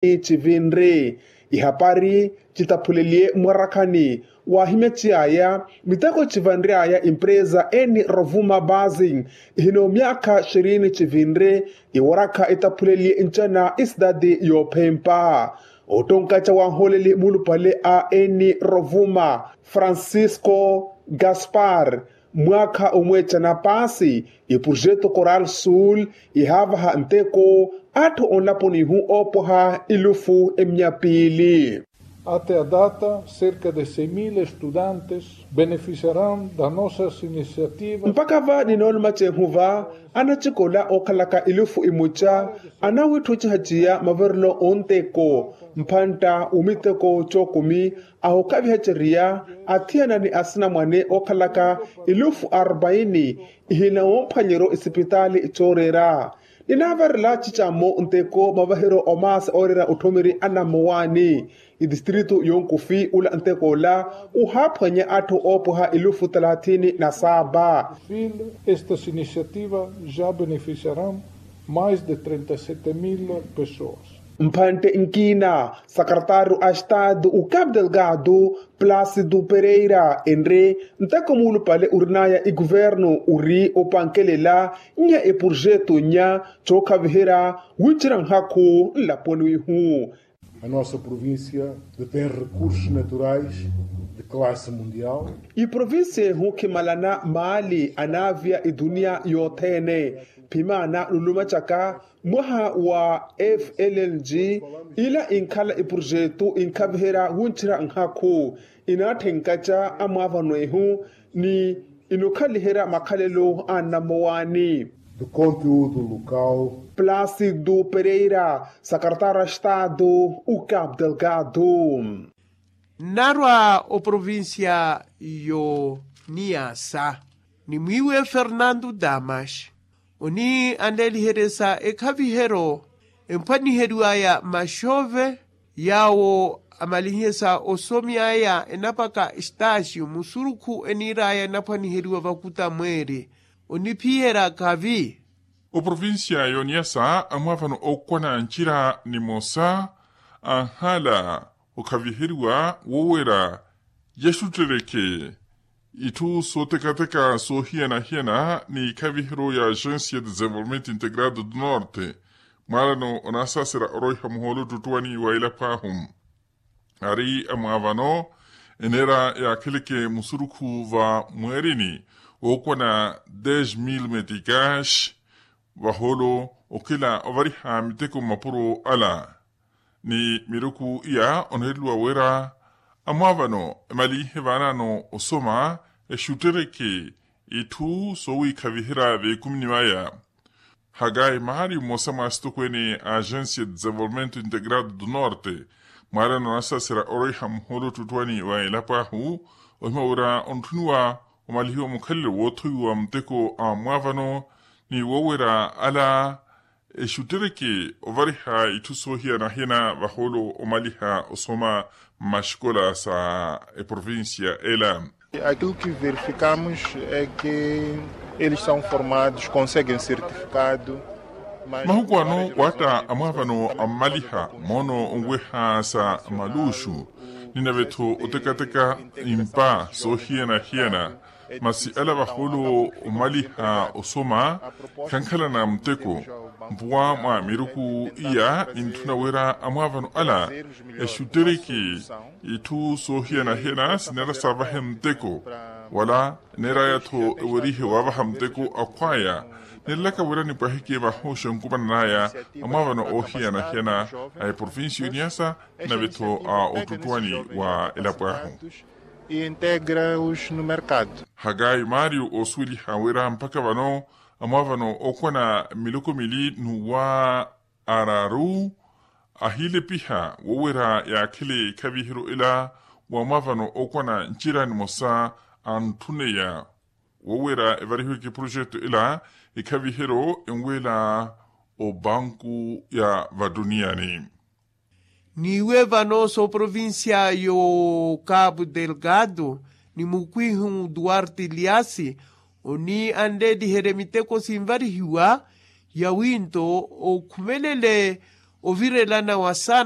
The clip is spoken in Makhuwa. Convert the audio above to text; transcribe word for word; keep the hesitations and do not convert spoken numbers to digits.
Civinri. Ihapari citaphuleliye mwarakhani, waahimeciyaya miteko civanryaya empresa eni rovuma basing, ihina omyaakha xirini civinri. Iwarakha itaphuleliye ncana esidadi yoophempa. Ottonkaca wanhooleli mulupale a eni rovuma, francisco gaspar, mwaakha omweecana paasi, eprojeto coral sul ihaavaha nteko atthu onlaponi ihu oopwaha elufu emyapiili. Até a data cerca de seis mil estudantes beneficiarão da nossas iniciativas. Mpakha va ninoolumaca ehu va, anacikola ookhalaka elufu emuca anawitthu ocihaciya maverelo onteko, mphantta omiteko cookumi, ahookhaviha ceriya athiyana ni asinamwane ookhalaka elufu arbaini, ihina womphwanyeryo esipitaali cooreera. Ninaavarela cicammo nteko mavaheryo omaasa ooreera otthomeri anammowaani. Etistritu yonkufi ula nteko ola uhaaphwanya atthu oopwaha elufu talathini na saaba. Fil estas iniciativas já beneficiarão mais de trinta e sete mil pessoas. Mphantte nkina, sakretaru a estadu o cabo delgado, plácido pereira enre, nteko muulupale orinaya eguvernu ori opankelela nya eprojeto nya cookhaviherya wincerya nhakhu nlaponi wihu. A nossa província detém recursos naturais de classe mundial. Eprovincia ehu khimalana maali anaavia edunia yothene. Phimaana nulumacaka mwaha wa flng, ila inkhala eprojeto inkhaviherya wincerya nhakhu, inaatthenkaca amwaavano ehu ni inokhaliherya makhalelo a nnammowaani. Do conteúdo local. Plácido pereira, sakretaru a estado o cabo delgado. Nnarwa oprovincia yo niyasa ni mwiiwe fernando damas, oni anleeliheryesa ekhaviheryo emphwaniheriwaya maxove, yaawo amalihiye sa osomyaya enapaka estaasio musurukhu eniiraya enaphwaniheriwa vakuta mweeri, oniphiyerya khavi. Oprovincia yoniyasa amwaavano ookwana ncira nimosa anhala okhaviheriwa wowera yaxutterekhe itthu sootekateka soohiyana-hiyana ni ikhaviheryo ya agencia de desenvolvimento integrado do norte. Mwaalano onaasaasera oroiha muhoolo ottuttwani wa elapo ahu, ari amwaavano eneera yaakheleke musurukhu va mweerini wookwana des mil meticas, vahoolo okhila ovariha miteko mmapuro ala ni miruku iya oneereliwa wira amwaavano emalihe vaanaano osoma exuttereke itthu soowiikhaviherya veekumini vaya. Hagai maari mmosa mwa asitokweene a agencia de desenvolvimento integrado do norte, mwaarano anasaasera oroiha muhoolo ottuttwani wa elapo ahu, ohimya wira ontthuniwa omalihiwa mukhalelo woothowiwa muteko a mwaavano ni woowera ala exuttereke ovariha itthu soohiyana-hiyana vahoolo omaliha osoma mmaxikola sa eprovincia ela. Aquilo que verificamos é que eles são formados, conseguem certificado. Mahuku ano waatta amwaavano ammaliha moono onweha sa maluxu, ninave-tho otekateka impa soohiyana-hiyana. Masi ala vahoolo omaliha osoma khankhalana muteko. Mpuwa mwa miruku iya nintthuna wira amwaavano ala exuttereke itthu soohiyana-hiyana sineera saavahe muteko, wala neeraya-tho ewerihe waavaha muteko akhwaya. Neerelaka wira nipwaheke vahoxa nkumananaya amwaavano oohiyana-hiyana a eprovincia yoniyasa, nave-tho a ottuttwani wa elapo ahu. Integra-os no mercado. Hagai mario oosuweliha wira mpakha vano amwaavano ookwana miloko mili n'uwa araru ahiilepiha woowera yaakhele ekhaviheryo ela wa mwaavano ookwana ncira nimosa antthuneya woowera evarihiweke eprojeto ela ekhaviheryo enweela obanku ya vatuniyani. Niiwe vano s'oprovincia yo cabo delgado ni mukwihu duarte liasi oni anleeliherye miteko sinvarihiwa ya winto okhumelele ovirelana wa saana